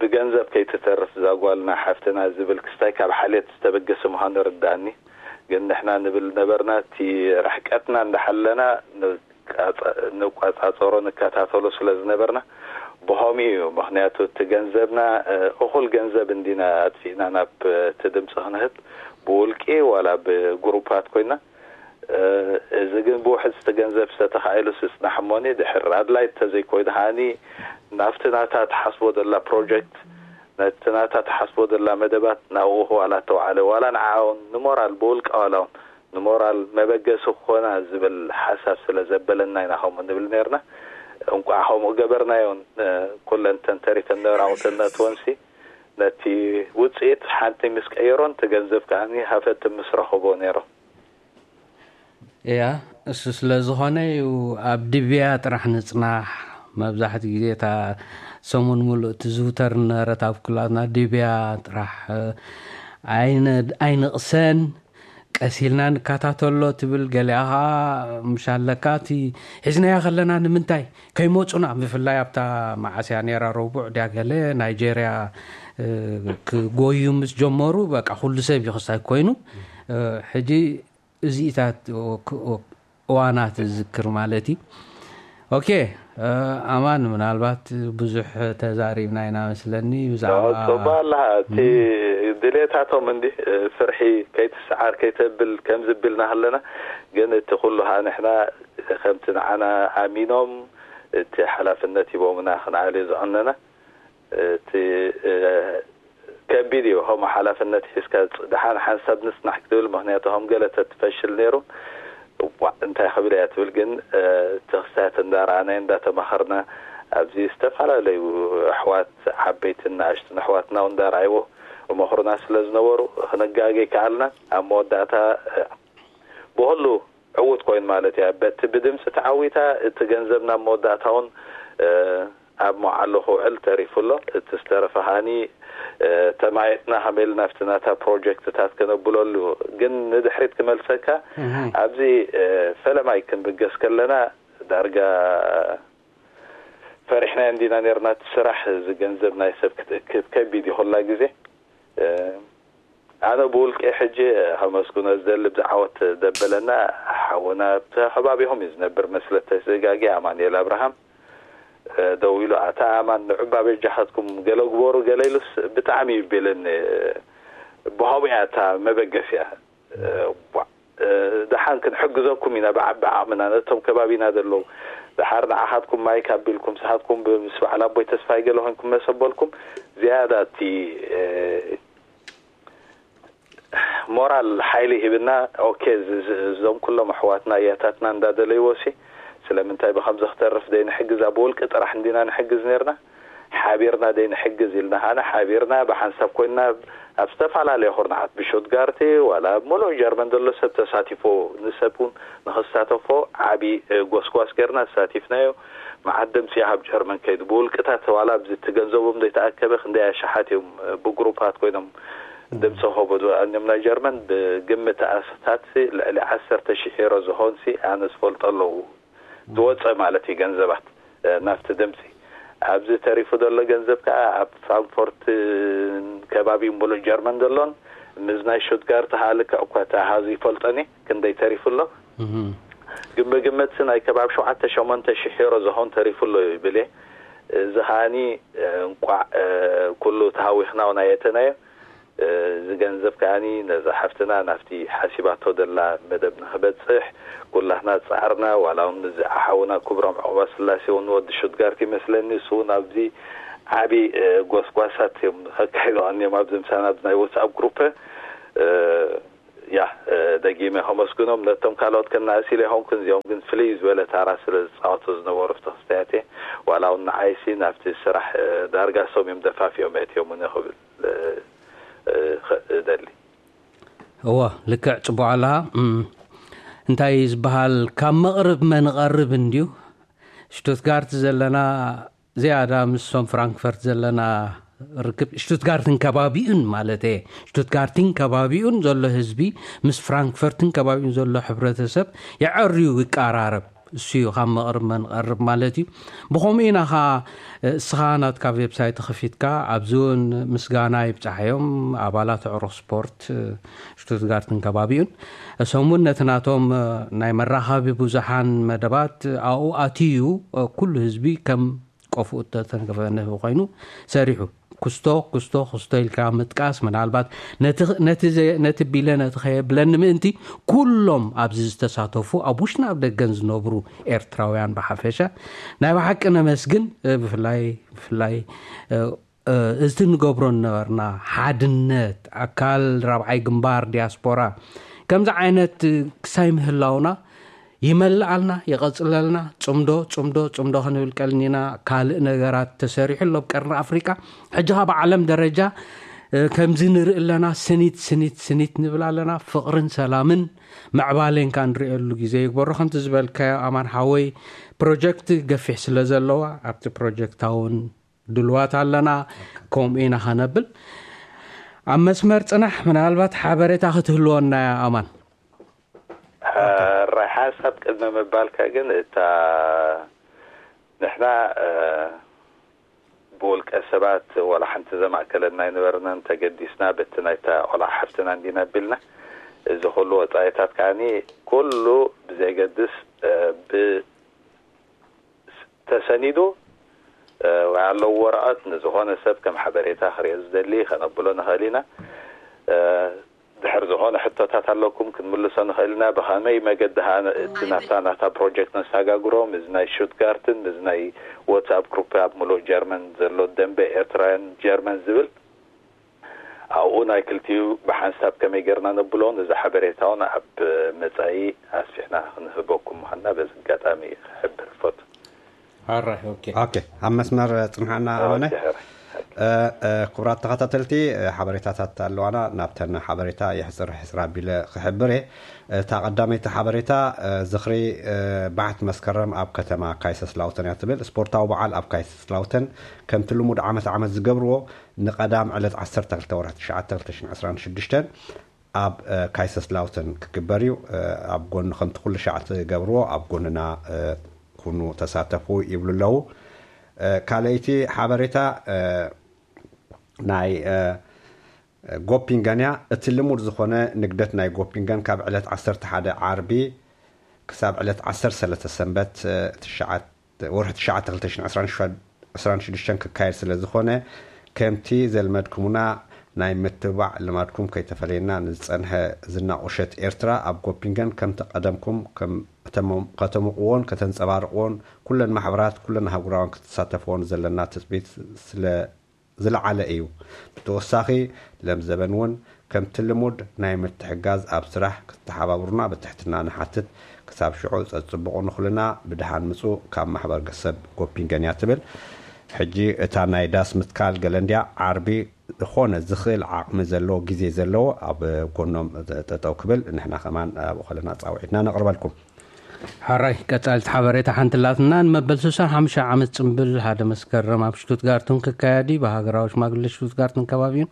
ብገንዘብ ከይትተርፍ ዛጓልና ሓፍትና ዝብል ክስታይ ካብ ሓልየት ዝተበገሰ ምዃኑ ርዳእኒ። ግን ንሕና ንብል ነበርና እቲ ርሕቀትና እንዳሓለና ንቋጻጸሮ ንከታተሎ ስለ ዝነበርና ብኸምኡ እዩ። ምክንያቱ እቲ ገንዘብና እኹል ገንዘብ እንዲና ኣጥፊእና ናብ እቲ ድምፂ ክንህብ ብውልቂ ዋላ ብግሩፓት ኮይና እዚ ግን ብውሕድ ዝተገንዘብ ዝተተኻኢሉ ስፅናሕ እሞኒ ድሕር ኣድላይ ተዘይኮይኑ ከዓኒ ናብቲ ናታ ትሓስቦ ዘላ ፕሮጀክት ነቲ ናታ ትሓስቦ ዘላ መደባት ናብኡ ዋላ ተውዓለ ዋላ ንዓውን ንሞራል ብውልቃ ዋላ እውን ንሞራል መበገሲ ክኾና ዝብል ሓሳብ ስለ ዘበለና ኢና ከምኡ ንብል ነርና። እንቋዕ ከምኡ ገበርናዮን ኩለን ተንተሪፈን ነራውተን ነትወንሲ ነቲ ውፅኢት ሓንቲ ምስ ቀየሮን ትገንዘብ ከዓኒ ሃፈት ምስ ረኸቦ ነይሮም። እያ እሱ ስለ ዝኾነ እዩ ኣብ ድብያ ጥራሕ ንፅናሕ። መብዛሕትኡ ግዜ እታ ሰሙን ሙሉእ ትዝውተር ነበረት ኣብ ኩላትና ድብያ ጥራሕ። ኣይንቕሰን ቀሲልና ንከታተሎ ትብል፣ ገሊኣ ከዓ ምሽ ኣለካ እቲ ሒዝናያ ከለና ንምንታይ ከይመፁና፣ ብፍላይ ኣብታ መዓስያ ነራ ረቡዕ ድያ ገለ ናይጀርያ ክጎዩ ምስ ጀመሩ በቃ ኩሉ ሰብ ይኽሳይ ኮይኑ ሕጂ እዚኢታት እዋናት ዝዝክር ማለት እዩ። ኦኬ ኣማን ምናልባት ብዙሕ ተዛሪብና ኢና መስለኒ ብዛዕባ ጽባ ኣለካ እቲ ድሌታቶም እንዲ ፍርሒ ከይትስዓር ከይተብል ከም ዝብልና ከለና ግን እቲ ኩሉ ከዓ ንሕና ከምቲ ንዓና ኣሚኖም እቲ ሓላፍነት ሂቦምና ክንዓልዮ ዝቐነና እቲ ከቢድ እዩ ከምኡ ሓላፍነት ሒዝካ ደሓን ሓንሳብ ንስናሕ ክትብል ምክንያቱ ከም ገለ ተትፈሽል ነይሩ እንታይ ክብል እያ ትብል ግን ተክስታት እንዳረኣና እንዳተማኸርና ኣብዚ ዝተፈላለዩ ኣሕዋት ዓበይትን ንኣሽትን ኣሕዋትና እንዳረኣይዎ መኽሩና ስለ ዝነበሩ ክንጋገ ይከኣልና ኣብ መወዳእታ ብኩሉ ዕዉት ኮይኑ ማለት እያ በቲ ብድምፂ ተዓዊታ እቲ ገንዘብ ናብ መወዳእታ እውን ኣብ መዓሉ ክውዕል ተሪፉ ኣሎ እቲ ዝተረፈ ከዓኒ ተማየጥና ከመይ ኢልና ኣብቲ ናታ ፕሮጀክትታት ከነብለሉ ግን ንድሕሪት ክመልሰካ ኣብዚ ፈለማይ ክንብገስ ከለና ዳርጋ ፈሪሕና እንዲና ነርና እቲ ስራሕ እዚ ገንዘብ ናይ ሰብ ክትእክብ ከቢድ እዩ ኩላ ግዜ ኣነ ብውልቂ ሕጂ ከመስግኖ ዝደሊ ብዛዕወት ደበለና ሓውና ኣብቲ ከባቢኹም እዩ ዝነብር መስለተ ስጋጊ ኣማኑኤል ኣብርሃም ደው ኢሉ ኣታ ኣማን ንዑባ በጃኻትኩም ገለ ግበሩ ገለ ኢሉስ ብጣዕሚ ይቤለኒ ብኸምኡ እያ እታ መበገስ እያ ደሓን ክንሕግዘኩም ኢና ብዓቢ ዓቕምና ነቶም ከባቢና ዘለዉ ደሓር ንዓኻትኩም ማይክ ኣቢልኩም ስኻትኩም ምስ በዓል ኣቦይ ተስፋይ ገለ ኮይንኩም መሰበልኩም ዝያዳ እቲ ሞራል ሓይሊ ሂብና ኦኬ እዞም ኩሎም ኣሕዋትና እያታትና እንዳደለይዎ ሲ ስለምንታይ ብከምዚ ክተርፍ ደይ ንሕግዝ ኣብ ውልቂ ጥራሕ እንዲና ንሕግዝ ነርና ሓቢርና ደይ ንሕግዝ ኢልና ከዓና ሓቢርና ብሓንሳብ ኮይንና ኣብ ዝተፈላለየ ኩርናዓት ብሾትጋርቲ ዋላ ኣብ ሙሉእ ጀርመን ዘሎ ሰብ ተሳቲፎ ንሰብ እውን ንክሳተፎ ዓቢ ጎስጓስ ገርና ተሳቲፍናዮ መዓት ድምፂ ካብ ጀርመን ከይዱ ብውልቅታት ዋላ ኣብዚ ትገንዘቦም ዘይተኣከበ ክንደይ ኣሽሓት እዮም ብግሩፓት ኮይኖም ድምፂ ከቦ ዝወኣኒዮም ናይ ጀርመን ብግምት ኣስታት ልዕሊ ዓሰርተ ሽሕ ዩሮ ዝኸውን ሲ ኣነ ዝፈልጦ ኣለዉ ዝወፀ ማለት እዩ ገንዘባት ናብቲ ድምፂ ኣብዚ ተሪፉ ዘሎ ገንዘብ ከዓ ኣብ ፍራንክፎርት ከባቢ ሙሉእ ጀርመን ዘሎን ምስ ናይ ሹትጋርት ከዓ ልክዕ እኳ እቲ ኣሃዙ ይፈልጦን እየ ክንደይ ተሪፉ ኣሎ ግን ብግምት ናይ ከባቢ ሸውዓተ ሸሞንተ ሽሕ ዩሮ ዝኸውን ተሪፉ ኣሎ ይብል እየ እዚ ከዓኒ እንቋዕ ኩሉ ተሃዊኽና እውን ኣየተናዮ እዚ ገንዘብ ከዓኒ ነዛ ሓፍትና ናብቲ ሓሲባቶ ዘላ መደብ ንክበፅሕ ኩላትና ፃዕርና ዋላ እውን እዚ ሓውና ክብሮም ዕቁባ ስላሴ እውን ወዲ ሹትጋርት ይመስለኒ እሱ እውን ኣብዚ ዓብዪ ጎስጓሳት እዮም ከካይዱ ቀኒዮም ኣብዚ ምሳና ኣብዚ ናይ ወትስኣፕ ግሩፕ ያ ደጊመ ከመስግኖም ነቶም ካልኦት ከናእስ ኢለ ይኾንኩን እዚኦም ግን ፍልይ ዝበለ ታራ ስለ ዝፃወቱ ዝነበሩ ፍትክስተያት ዋላ እውን ንዓይሲ ናብቲ ስራሕ ዳርጋ ሶም እዮም ደፋፊኦም ኣእትዮም እውን ክብል እደሊ። እወ ልክዕ ጽቡቕ ኣለኻ። እንታይ ዝበሃል ካብ መቕርብ መንቐርብ እንድዩ። ሽቱትጋርት ዘለና ዝያዳ ምስሶም ፍራንክፈርት ዘለና ርክብ ሽቱትጋርትን ከባቢኡን ማለት እየ። ሽቱትጋርትን ከባቢኡን ዘሎ ህዝቢ ምስ ፍራንክፈርትን ከባቢኡን ዘሎ ሕብረተሰብ የዐርዩ፣ ይቀራረብ። እሱ እዩ ካብ መቕርብ መንቐርብ ማለት እዩ። ብኸምኡ ኢና ኸዓ እስኻ ናትካ ዌብሳይት ከፊትካ ኣብዚ እውን ምስጋና ይብጻሕ እዮም ኣባላት ዕሩኽ ስፖርት ሽቱትጋርትን ከባቢኡን። እሶም እውን ነቲ ናቶም ናይ መራኸቢ ብዙሓን መደባት ኣብኡ ኣትዩ ኩሉ ህዝቢ ከም ቆፍኡ እተተንከፈ ንህቢ ኮይኑ ሰሪሑ። ኩስቶ ኩስቶ ኩስቶ ኢልካ ምጥቃስ ምናልባት ነቲ ነቲ ዘ- ነቲ ቢለ ነቲ ከየብለኒ ምእንቲ ኩሎም ኣብዚ ዝተሳተፉ ኣብ ውሽጥን ኣብ ደገን ዝነብሩ ኤርትራውያን ብሓፈሻ ናይ ብሓቂ ነመስግን። እ፣ ብፍላይ ብፍላይ እ፣ እ፣ እዚ ንገብሮ ነበርና ሓድነት ኣካል ራብዓይ ግንባር ዲያስፖራ ከምዚ ዓይነት ክሳይ ምህላውና ይመልኣልና፣ ይቐጽለልና። ጽምዶ ጽምዶ ጽምዶ ክንብል ቀልኒና። ካልእ ነገራት ተሰሪሑ ኣሎ ኣብ ቀርኒ ኣፍሪቃ። ሕጂ ካብ ዓለም ደረጃ እ፣ ከምዚ ንርኢ ኣለና። ስኒት ስኒት ስኒት ንብል ኣለና። ፍቕርን ሰላምን ምዕባሌን ከኣ ንርእየሉ ግዜ ይግበሮ። ከምቲ ዝበልካዮ ኣማን ሓወይ፣ ፕሮጀክት ገፊሕ ስለ ዘለዋ ኣብቲ ፕሮጀክታ እውን ድልዋት ኣለና። ከምኡ ኢና ከነብል። ኣብ መስመር ጽናሕ፣ ምናልባት ሓበሬታ ክትህልወና እያ ኣማን። ሕራይ ሓንሳብ ቅድሚ ምባልካ ግን እታ ንሕና እ፣ ብውልቀ ሰባት ዋላ ሓንቲ ዘማእከለና ኣይነበርናን። ተገዲስና በቲ ናይታ ቆልዓ ሓፍትና እንዲና ኣቢልና እዚ ኩሉ ወጻኢታት ከዓኒ ኩሉ ብዘየገድስ እ፣ ብ ተሰኒዱ እ፣ ወይ ኣለዎ ወረቐት ንዝኾነ ሰብ ከም ሓበሬታ ክሪኦ ዝደሊ ከነብሎ ንኽእል ኢና። እ፣ ድሕር ዝኾነ ሕቶታት ኣለኩም ክንምልሶ ንኽእል ኢና። ብኸመይ መገዲ ኸኣ እቲ ናብታ ናታ ፕሮጀክት ነሳጋግሮ ምስ ናይ ሹትጋርትን ምስ ናይ ዋትስኣፕ ግሩፕ ኣብ ምሉእ ጀርመን ዘሎ ደንበ ኤርትራውያን ጀርመን ዝብል ኣብኡ ናይ ክልቲኡ ብሓንሳብ ከመይ ጌርና ነብሎ ነዚ ሓበሬታ እውን ኣብ መጻኢ ኣስፊሕና ክንህበኩም ምዃንና በዚ ኣጋጣሚ ክሕብር ይፈቱ። ኣራይ ኦኬ ኦኬ ኣብ መስመር ጽንሓና ኣማነ ኦኬ፣ ሕራይ። እ፣ እ፣ ክቡራት ተኸታተልቲ እ፣ ሓበሬታታት ኣለዋና ናብተን ሓበሬታ የሕፅር ሕፅር ኣቢለ ክሕብር እየ። እታ ቀዳመይቲ ሓበሬታ እ፣ ዝኽሪ እ፣ ባሕቲ መስከረም ኣብ ከተማ ካይሰስላውተን እያ ትብል። ስፖርታዊ በዓል ኣብ ካይሰስላውተን ከምቲ ልሙድ ዓመት ዓመት ዝገብርዎ ንቐዳም ዕለት ዓሰርተ ክልተ ወርሒ ትሽዓተ ክልተ ሽሕን ዕስራን ሽዱሽተን ኣብ እ፣ ካይሰስላውተን ክግበር እዩ። እ፣ ኣብ ጎኒ ከምቲ ኩሉ ሻዕ ትገብርዎ ኣብ ጎንና እ፣ ኩኑ ተሳተፉ ይብሉ ኣለዉ። እ፣ ካልኣይቲ ሓበሬታ እ፣ ናይ እ፣ ጎፒንገን እያ። እቲ ልሙድ ዝኾነ ንግደት ናይ ጎፒንገን ካብ ዕለት ዓሰርተ ሓደ ዓርቢ ክሳብ ዕለት ዓሰርተ ሰለስተ ሰንበት እ፣ ትሽዓተ ወርሒ ትሽዓተ ክልተ ሽሕን ዕስራን ሽዱሽተን ክካየድ ስለ ዝኾነ ከምቲ ዘልመድኩምና ናይ ምትብባዕ ልማድኩም ከይተፈለየና ንዝጸንሐ ዝና ቁሸት ኤርትራ ኣብ ጎፒንገን ከምቲ ቀደምኩም ከም ከተሞ- ከተሙቕዎን ከተንጸባርቕዎን ኩለን ማሕበራት ኩለን ኣህጉራውያን ክትሳተፍዎን ዘለና ትጽቢት ስለ ዝለዓለ እዩ። ብተወሳኺ ለምዘበን እውን ከምቲ ልሙድ ናይ ምትሕጋዝ ኣብ ስራሕ ክትተሓባብሩና ብትሕትና ንሓትት። ክሳብ ሽዑ ጸጽብቑ ንኹልና ብድሓን ምጹ ካብ ማሕበር ገሰብ ጎፒንገን እያ ትብል። ሕጂ እታ ናይ ዳስ ምትካል ገለ እንድያ ዓርቢ ዝኾነ ዝኽእል ዓቕሚ ዘለዎ ግዜ ዘለዎ ኣብ ጎኖም ጠጠው ክብል ንሕና ከማን ኣብኡ ከለና ጻውዒትና ነቕርበልኩም። ሓራይ ቀጻልቲ ሓበሬታ ሓንቲ ላትና ንመበል ስሳን ሓሙሽተ ዓመት ጽምብል ሓደ መስከረም ኣብ ሽቱትጋርትን ክካየድ እዩ። ብሃገራዊ ሽማግለ ሽቱትጋርትን ከባቢኡን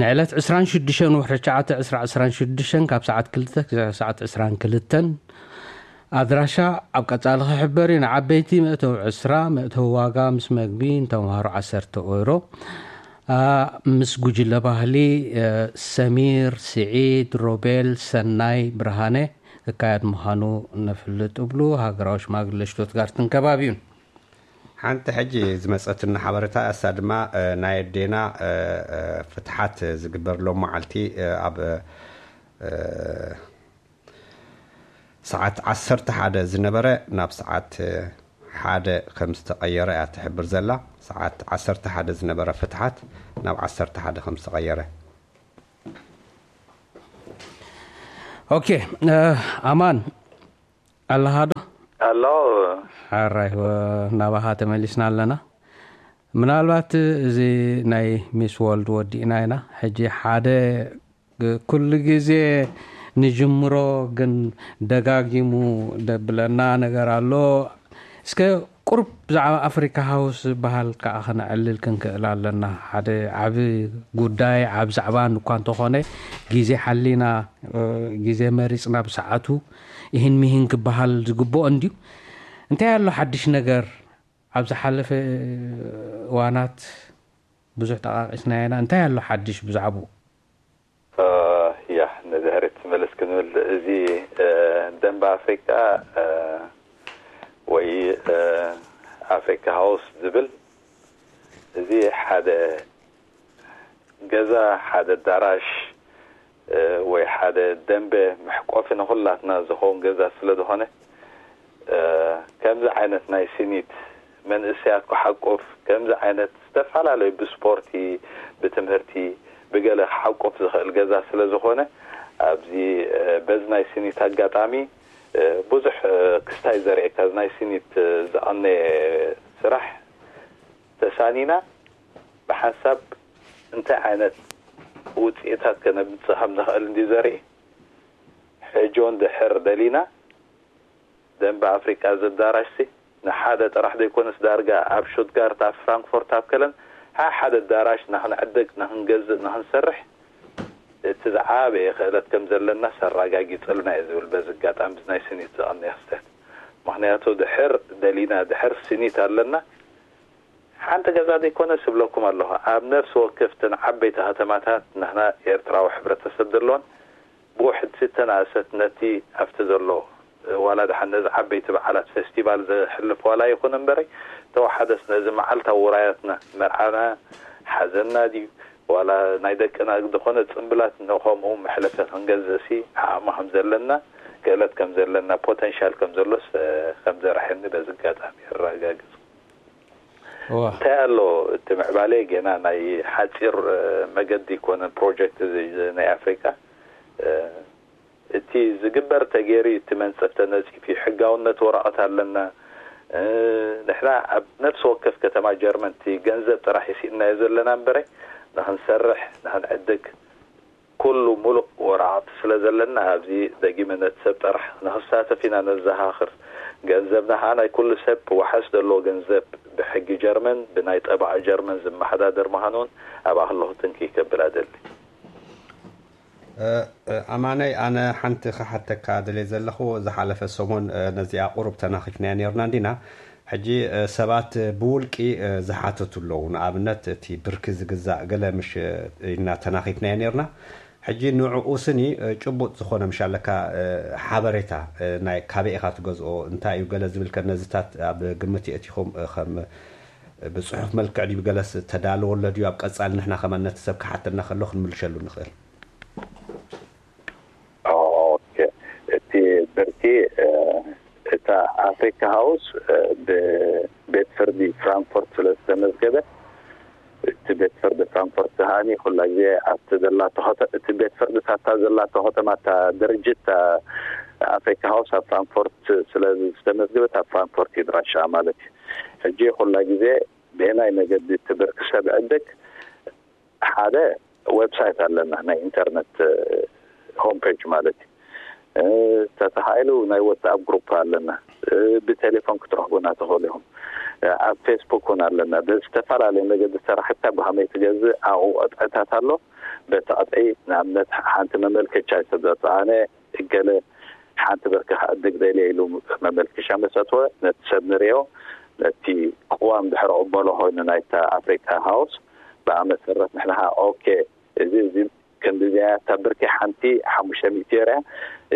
ንዕለት ዕስራን ሽዱሽተን ወርሒ ትሽዓተ ዕስራ ዕስራን ሽዱሽተን ካብ ሰዓት ክልተ ክሳዕ ሰዓት ዕስራን ክልተን ኣድራሻ ኣብ ቀጻሊ ክሕበር እዩ። ንዓበይቲ መእተዊ ዕስራ፣ መእተዊ ዋጋ ምስ መግቢ ንተምሃሮ ዓሰርተ ኦይሮ። ኣ፣ ምስ ጉጅለ ባህሊ እ፣ ሰሚር፣ ስዒድ፣ ሮቤል፣ ሰናይ፣ ብርሃነ ክካየድ ምዃኑ ነፍልጥ እብሉ ሃገራዊ ሽማግለ ሽቶትጋርትን ከባቢኡን። ሓንቲ ሕጂ ዝመፀትና ሓበሬታ እሳ ድማ እ፣ ናይ ኣዴና እ፣ እ፣ ፍትሓት ዝግበርሎም መዓልቲ እ፣ ኣብ እ፣ ሰዓት ዓሰርተ ሓደ ዝነበረ ናብ ሰዓት እ፣ ሓደ ከም ዝተቐየረ እያ ትሕብር ዘላ። ሰዓት ዓሰርተ ሓደ ዝነበረ ፍትሓት ናብ ዓሰርተ ሓደ ከም ዝተቐየረ። ኦኬ እ፣ ኣማን ኣለኻ ዶ? ኣሎ። ሓራይ ወ- ናባኻ ተመሊስና ኣለና። ምናልባት እዚ ናይ ሚስ ወርልድ ወዲእና ኢና። ሕጂ ሓደ ኩሉ ግዜ ንጅምሮ ግን ደጋጊሙ ደብለና ነገር ኣሎ። እስከ ቁሩብ ብዛዕባ ኣፍሪካ ሃውስ ዝበሃል ከዓ ክነዕልል ክንክእል ኣለና። ሓደ ዓቢ ጉዳይ፣ ዓብ ዛዕባን እኳ እንተኾነ፣ ግዜ ሓሊና፣ እ፣ ግዜ መሪጽና ብሰዓቱ ይህን ሚህን ክበሃል ዝግብኦ እንድዩ። እንታይ ኣሎ ሓድሽ ነገር? ኣብ ዝሓለፈ እዋናት ብዙሕ ጠቃቂስና ኢና። እንታይ ኣሎ ሓድሽ ብዛዕባኡ? እ፣ ያ፣ ነዚ ሕርት መለስ ክንብል፣ እዚ፣ እ፣ ደንበ ኣፍሪቃ፣ እ፣ ወይ፣ እ፣ ኣፍሪካ ሃውስ ዝብል፣ እዚ ሓደ ገዛ፣ ሓደ ኣዳራሽ፣ እ፣ ወይ ሓደ ደንበ መሕቆፊ ንኹላትና ዝኸውን ገዛ ስለ ዝኾነ፣ እ፣ ከምዚ ዓይነት ናይ ሲኒት መንእሰያት ክሓቁፍ፣ ከምዚ ዓይነት ዝተፈላለዩ ብስፖርቲ፣ ብትምህርቲ፣ ብገለ ክሓቁፍ ዝኽእል ገዛ ስለ ዝኾነ፣ ኣብዚ፣ እ፣ በዚ ናይ ሲኒት ኣጋጣሚ፣ እ፣ ብዙሕ፣ እ፣ ክስታይ ዘርእየካ፣ እዚ ናይ ሲኒት፣ እ፣ ዝቐነየ ስራሕ ተሳኒና፣ ብሓንሳብ እንታይ ዓይነት ውፅኢታት ከነምፅእ ከም ንኽእል እንዲ ዘርኢ፣ ሕጆን ድሕር ደሊና፣ ደንበ ኣፍሪቃ እዚ ኣዳራሽ ሲ ንሓደ ጥራሕ ዘይኮነስ፣ ዳርጋ ኣብ ሹትጋርት፣ ኣብ ፍራንክፎርት፣ ኣብ ከለን፣ ሓ-፣ ሓደ ኣዳራሽ ንኽንዕድግ፣ ንኽንገዝእ፣ ንኽንሰርሕ፣ እቲ ዝዓበየ ክእለት ከም ዘለና ሰራጋጊጽልና እዩ ዝብል፣ በዚ ኣጋጣሚ፣ እዚ ናይ ስኒት ዝቐነየ ክስተት። ምኽንያቱ፣ ድሕር ደሊና፣ ድሕር ስኒት ኣለና፣ ሓንቲ ገዛ ዘይኮነ ስብለኩም ኣለኹ፣ ኣብ ነፍሲ ወከፍተን ዓበይቲ ከተማታት ንሕና ኤርትራዊ ሕብረተሰብ ዘለዎን፣ ብውሕድ ዝተናእሰት ነቲ ኣብቲ ዘሎ፣ ዋላ ደሓን ነዚ ዓበይቲ በዓላት ፌስቲቫል ዘሕልፍ ዋላ ይኹን እምበረይ፣ ተወሓደስ ነዚ መዓልታዊ ውራያትና፣ መርዓና፣ ሓዘንና ድዩ፣ ዋላ ናይ ደቅና ዝኾነ ጽምብላት ንኸምኡ መሕለፊ ክንገዝእሲ ዓቕሚ ከም ዘለና፣ ክእለት ከም ዘለና፣ ፖተንሻል ከም ዘሎስ፣ እ፣ ከም ዘርሐኒ በዚ ኣጋጣሚ የረጋግጽ። እዋ። እንታይ ኣሎ እቲ ምዕባለ? ገና ናይ ሓጺር፣ እ፣ መገዲ ይኮነን ፕሮጀክት እዚ ናይ ኣፍሪቃ። እ፣ እቲ ዝግበር ተገይሩ፣ እቲ መንጸፍ ተነጺፉ፣ ሕጋውነት ወረቐት ኣለና። እ፣ ንሕና ኣብ ነፍሲ ወከፍ ከተማ ጀርመን እቲ ገንዘብ ጥራሕ ይስእናዮ ዘለና እምበረ፣ ንኽንሰርሕ፣ ንኽንዕድግ፣ ኩሉ ሙሉእ ወረቓቕቲ ስለ ዘለና፣ ኣብዚ ደጊመ ነቲ ሰብ ጥራሕ ንኽሳተፍ ኢና ነዘኻኽር። ገንዘብና ኸዓ ናይ ኩሉ ሰብ ዋሕስ ዘለዎ ገንዘብ ብሕጊ ጀርመን፣ ብናይ ጠበቓ ጀርመን ዝመሓዳደር ምዃኑ እውን ኣብኣ ከለኹ ትንክይ ከብል ኣደሊ። እ፣ እ፣ ኣማነይ፣ ኣነ ሓንቲ ክሓተካ ደልየ ዘለኹ፣ ዝሓለፈ ሰሙን፣ እ፣ ነዚኣ ቁሩብ ተናኺፍናያ ነይርና እንዲና። ሕጂ፣ እ፣ ሰባት ብውልቂ፣ እ፣ ዝሓተቱ ኣለዉ። ንኣብነት፣ እቲ ብርኪ ዝግዛእ ገለ ምሽ፣ እ፣ ኢልና ተናኺፍናዮ ነይርና። ሕጂ ንዕኡ ስኒ፣ እ፣ ጭቡጥ ዝኾነ ምሽ ኣለካ፣ እ፣ ሓበሬታ፣ እ፣ ናይ ካበይ ኢኻ ትገዝኦ፣ እንታይ እዩ ገለ ዝብል ከ ነዚታት ኣብ ግምት የእቲኹም፣ እ፣ ከም፣ እ፣ ብጽሑፍ መልክዕ ድዩ ገለስ ተዳለወ ኣሎ ድዩ ኣብ ቀጻሊ ንሕና ከማን ነቲ ሰብ ክሓተና ከሎ ክንምልሸሉ ንኽእል? ኦኬ። እቲ ብርኪ፣ እ፣ እታ ኣፍሪካ ሃውስ፣ እ፣ ብቤት ፍርዲ ፍራንክፎርት ስለ ዝተመዝገበ፣ እቲ ቤት ፍርዲ ፍራንክፎርት ከዓኒ ኩላ ግዜ ኣብቲ ዘላቶ ከተ-፣ እቲ ቤት ፍርዲ ታታ ዘላቶ ከተማ፣ እታ ድርጅት፣ እታ ኣፍሪካ ሃውስ ኣብ ፍራንክፎርት ስለ ዝተመዝገበት፣ ኣብ ፍራንክፎርት ይድራሻ ማለት እዩ። ሕጂ ኩላ ግዜ ብየናይ መገዲ እቲ ብርኪ ሰብ ዕድግ ሓደ ዌብሳይት ኣለና፣ ናይ ኢንተርነት፣ እ፣ ሆም ፔጅ ማለት እዩ። እ፣ ተተኻኢሉ ናይ ዋትስኣፕ ግሩፕ ኣለና። እ፣ ብቴሌፎን ክትረኽቡና ትኽእሉ ኢኹም። እ፣ ኣብ ፌስቡክ እውን ኣለና። ብዝተፈላለየ መገዲ ሰራሕካ ብኸመይ ትገዝእ ኣብኡ ቅጥዕታት ኣሎ። በቲ ቅጥዒ ንኣብነት ሓንቲ መመልከቻ ይሰደቱ። ኣነ እገለ ሓንቲ ብርኪ ክዕድግ ደልየ ኢሉ መመልከቻ መሰትወ፣ ነቲ ሰብ ንርእዮ፣ ነቲ ቅዋም ድሕሪ ቅበሎ ኮይኑ ናይታ ኣፍሪካ ሃውስ፣ ብኣ መሰረት ንሕና ኸዓ ኦኬ፣ እዚ፣ እዚ ክንዲ እዚኣ እያ፣ እታ ብርኪ ሓንቲ ሓሙሽተ ሚእቲ እያ፣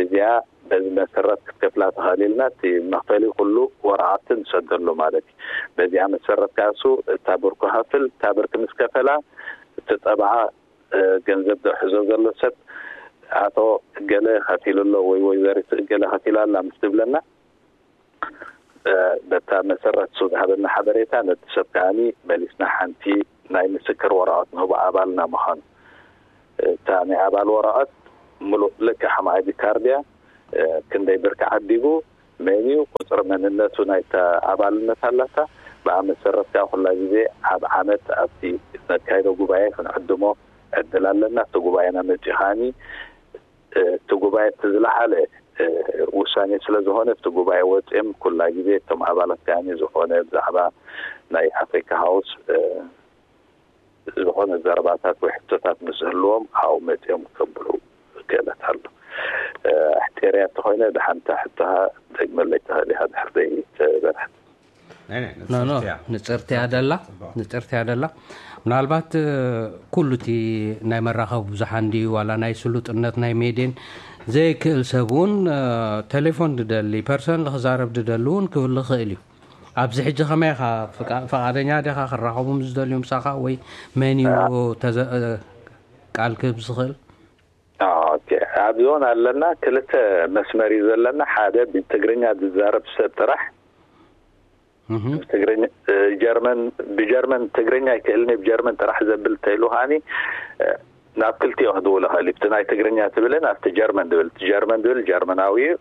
እዚኣ በዚ መሰረት ክትከፍላ ትኽእል ኢልና፣ እቲ መኽፈሊ ኩሉ ወረቓቕቲ ንሰደሉ ማለት እዩ። በዚኣ መሰረት ከኣ እሱ እታ ብርኩ ከፍል፣ እታ ብርኪ ምስ ከፈላ፣ እቲ ጠበዓ፣ እ፣ ገንዘብ ዝሕዞ ዘሎ ሰብ ኣቶ ገለ ከፊሉ ኣሎ ወይ ወይዘሪት ገለ ከፊላ ኣላ ምስ ትብለና፣ እ፣ በታ መሰረት እሱ ዝሃበና ሓበሬታ ነቲ ሰብ ከኣኒ መሊስና ሓንቲ ናይ ምስክር ወረቐት ንህቦ ኣባልና ምዃኑ። እታ ናይ ኣባል ወረቐት ምሉእ ልክዕ ከም ኣይዲ ካርድ እያ። እ፣ ክንደይ ብርኪ ዓዲጉ፣ መን እዩ፣ ቁጽሪ መንነቱ ናይታ ኣባልነት ኣላታ። ብኣ መሰረት ከኣ ኩላ ግዜ ኣብ ዓመት ኣብቲ ነካይዶ ጉባኤ ክንዕድሞ ዕድል ኣለና። እቲ ጉባኤና መጺኡ ከኣኒ፣ እ፣ እቲ ጉባኤ እቲ ዝለዓለ ውሳኔ ስለ ዝኾነ፣ ኣብቲ ጉባኤ ወፂኦም ኩላ ግዜ እቶም ኣባላት ከኣ ዝኾነ ብዛዕባ ናይ ኣፍሪካ ሃውስ ዝኾነ ዘረባታት ወይ ሕቶታት ምስ ዝህልዎም ኣብኡ መፂኦም ከብሉ ክእለት ኣሎ። ኣሕፂረያ እንተኾይነ፣ ደሓንታ ሕቶኻ ደግመለይ ትኽእል ኢኻ ድሕር ዘይተበርሐት። ንፅርትያ ደላ ንፅርትያ ደላ ምናልባት ኩሉ እቲ ናይ መራኸቢ ብዙሓን ድዩ ዋላ ናይ ስሉጥነት ናይ ሜድን ዘይክእል ሰብ እውን ቴሌፎን ድደሊ ፐርሰን ክዛረብ ድደሊ እውን ክብል ይኽእል እዩ። ኣብዚ ሕጂ ከመይ ኢኻ? ፍቓደኛ ዲኻ ክራኸቡ ምስ ዝደልዩ ምሳኻ ወይ መን እዩ ቃል ክህብ ዝኽእል? ኣብዚ እውን ኣለና። ክልተ መስመር እዩ ዘለና። ሓደ ብትግርኛ ዝዛረብ ሰብ ጥራሕ ጀርመን ብጀርመን ትግርኛ ኣይክእልን ብጀርመን ጥራሕ ዘብል ተይሉ ከዓኒ ናብ ክልቲኦ ክድውል ይኽእል እዩ። ብቲ ናይ ትግርኛ ትብልን ኣብቲ ጀርመን ድብል ጀርመን ድብል ጀርመናዊ እዩ።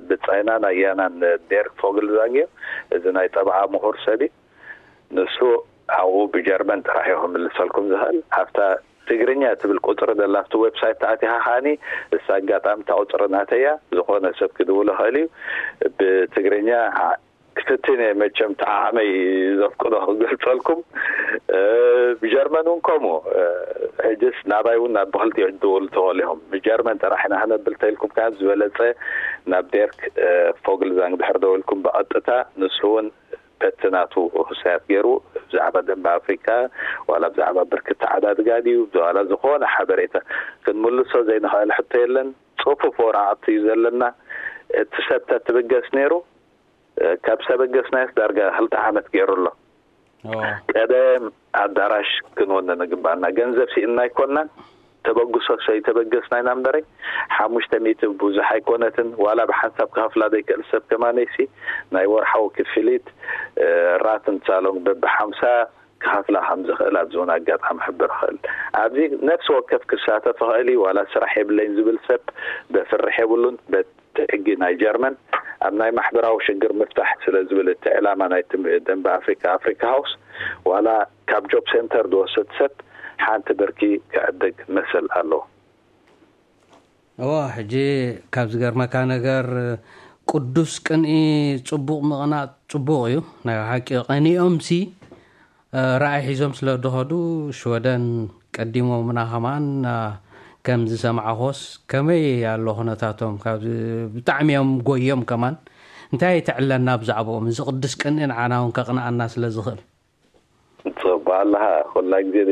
ብጻይናን ኣያናን ዴርክ ፎግልዛንግ እዩ። እዚ ናይ ጠበዓ ምሁር ሰብ እዩ። ንሱ ኣብኡ ብጀርመን ጥራሕ እዩ ክምልሰልኩም ዝኽእል። ኣብታ ትግርኛ ትብል ቁፅሪ ዘላ ኣብቲ ዌብሳይት ተኣቲኻ ከዓኒ እሳ ኣጋጣሚ እታ ቁፅሪ ናተያ ዝኾነ ሰብ ክድውል ይኽእል እዩ። ብትግርኛ ክፍትን እየ መቸም ተዓዓመይ ዘፍቅዶ ክገልፀልኩም። ብጀርመን እውን ከምኡ። ሕጅስ ናባይ እውን ናብ ብክልቲኡ ድውል ትኽእሉ ኢኹም። ብጀርመን ጥራሕ ኢና ክነብል ተልኩም ካብ ዝበለፀ ናብ ዴርክ ፎግልዛንግ ድሕር ደውልኩም ብቐጥታ ንሱ እውን በቲ ናቱ ክሳያት ገይሩ ብዛዕባ ደንበ ኣፍሪካ ዋላ ብዛዕባ ብርክት ተዓዳድጋ ድዩ ዋላ ዝኾነ ሓበሬታ ክንምልሶ ዘይንኽእል ሕቶ የለን። ፅፉፍ ወረቓቕቲ እዩ ዘለና። እቲ ሰብ ተትብገስ ነይሩ። ካብ ሰበገስናዮስ ዳርጋ ክልተ ዓመት ገይሩ ኣሎ። ቀደም ኣዳራሽ ክንወነ ንግባና ገንዘብ ሲእና ኣይኮናን። ተበግሶ ሰይተበገስና ኢና እምበረይ ሓሙሽተ ሚእቲ ብዙሕ ኣይኮነትን። ዋላ ብሓንሳብ ክኸፍላ ዘይክእል ሰብ ከማነይሲ ናይ ወርሓዊ ክፍሊት ራት እንሳሎም በብሓምሳ ክኸፍላ ከም ዝኽእል ኣብዚ እውን ኣጋጣሚ ክሕብር ይኽእል። ኣብዚ ነፍሲ ወከፍ ክሳተፍ ይኽእል እዩ። ዋላ ስራሕ የብለይን ዝብል ሰብ በፍርሕ የብሉን። በቲ ሕጊ ናይ ጀርመን ኣብ ናይ ማሕበራዊ ሽግር ምፍታሕ ስለ ዝብል እቲ ዕላማ ናይ ደንበ ኣፍሪካ ኣፍሪካ ሃውስ ዋላ ካብ ጆብ ሴንተር ዝወስድ ሰብ ሓንቲ ብርኪ ክዕድግ መሰል ኣለዎ። እዋ ሕጂ ካብ ዝገርመካ ነገር ቅዱስ ቅንኢ ጽቡቕ ምቕናእ ጽቡቕ እዩ። ናይ ሓቂ ቀኒኦም ሲ ራእይ ሒዞም ስለ ዝኸዱ ሽወደን ቀዲሞምና ከማን ከም ዝሰማዕኾስ ከመይ ኣሎ ኩነታቶም ካብ ብጣዕሚ እዮም ጎዮም ከማን እንታይ ተዕለና ብዛዕባኦም እዚ ቅዱስ ቅንኢ ንዓና እውን ከቕንኣና ስለ ዝኽእል ጽቡቅ ኣለኻ። ኩላ ግዜ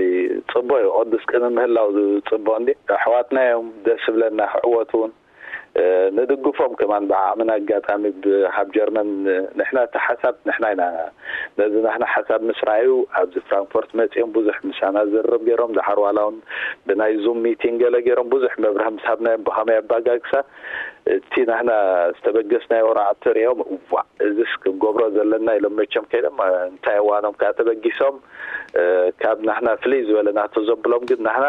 ጽቡቅ እዩ። ቅዱስ ቅን ምህላው ጽቡቅ እንዲ ኣሕዋትና እዮም ደስ ዝብለና ክዕወቱ እውን ንድግፎም ከማን ብዓቕምና ኣጋጣሚ ብሃብ ጀርመን ንሕና እቲ ሓሳብ ንሕና ኢና ነዚ ናህና ሓሳብ ምስ ረኣዩ ኣብዚ ፍራንክፎርት መጺኦም ብዙሕ ምሳና ዝርርብ ገይሮም ድሓር ዋላ እውን ብናይ ዙም ሚቲንግ ገለ ገይሮም ብዙሕ መብርህ ምስ ሃብናዮም ብኸመይ ኣባጋግሳ እቲ ናህና ዝተበገስናዮ ራዕ ተሪኦም ዋ እዚስ ክንገብሮ ዘለና ኢሎም መቸም ከይዶም እንታይ እዋኖም ከዓ ተበጊሶም ካብ ናህና ፍልይ ዝበለ ናቶ ዘብሎም ግን ናህና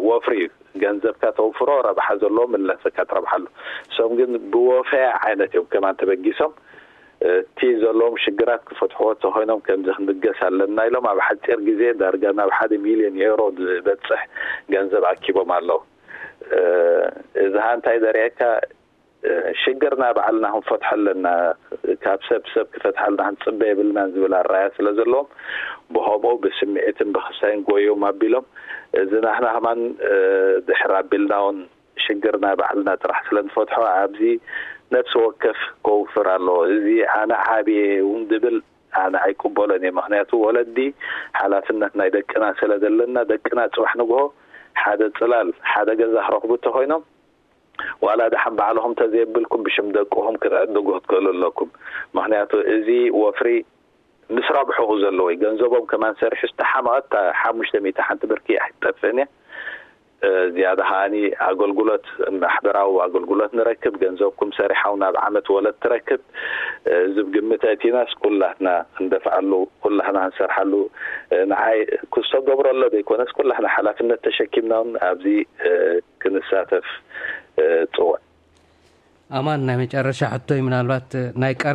ወፍሪ እዩ ገንዘብካ ተውፍሮ ረብሓ ዘለዎ ምለሰካ ትረብሓሉ እሶም ግን ብወፈያ ዓይነት እዮም ከማን ተበጊሶም እቲ ዘለዎም ሽግራት ክፈትሕዎ ተኮይኖም ከምዚ ክንብገስ ኣለና ኢሎም ኣብ ሓፂር ግዜ ዳርጋ ናብ ሓደ ሚልዮን ኤሮ ዝበፅሕ ገንዘብ ኣኪቦም ኣለዉ። እዚ ሀ እንታይ ዘርእየካ ሽግርና ባዕልና ክንፈትሖ ኣለና። ካብ ሰብ ሰብ ክፈትሓልና ክንፅበ የብልናን ዝብል ኣራያ ስለ ዘለዎም ብከምኡ ብስምዒትን ብክሳይን ጎዮም ኣቢሎም እዚ ናህና ከማን ድሕር ኣቢልና እውን ሽግርና ባዕልና ጥራሕ ስለ ንፈትሖ ኣብዚ ነፍሲ ወከፍ ከውፍር ኣለዎ። እዚ ኣነ ዓብየ እውን ዝብል ኣነ ኣይቅበሎን እየ። ምክንያቱ ወለዲ ሓላፍነት ናይ ደቅና ስለ ዘለና ደቅና ፅባሕ ንግሆ ሓደ ፅላል ሓደ ገዛ ክረክቡ እንተኮይኖም ዋላ ደሓን ባዕልኹም ተዘየብልኩም ብሽም ደቅኹም ክትዕድጉ ክትክእሉ ኣለኩም። ምክንያቱ እዚ ወፍሪ ምስ ረብሕኡ ዘለዎ እዩ። ገንዘቦም ከማን ሰሪሑ ዝተሓመቐት ሓሙሽተ ሚእቲ ሓንቲ ብርኪ ኣይትጠፍእን እያ። ዝያዳ ከዓኒ ኣገልግሎት ማሕበራዊ ኣገልግሎት ንረክብ ገንዘብኩም ሰሪሓው ናብ ዓመት ወለድ ትረክብ ዝብ ግምት ኣእቲናስ ኩላትና ክንደፍዓሉ ኩላትና ክንሰርሓሉ ንዓይ ክዝተገብሮ ኣሎ ዘይኮነስ ኩላትና ሓላፍነት ተሸኪምና እውን ኣብዚ ክንሳተፍ ጽውዕ። ኣማን ናይ መጨረሻ ሕቶይ ምናልባት ናይ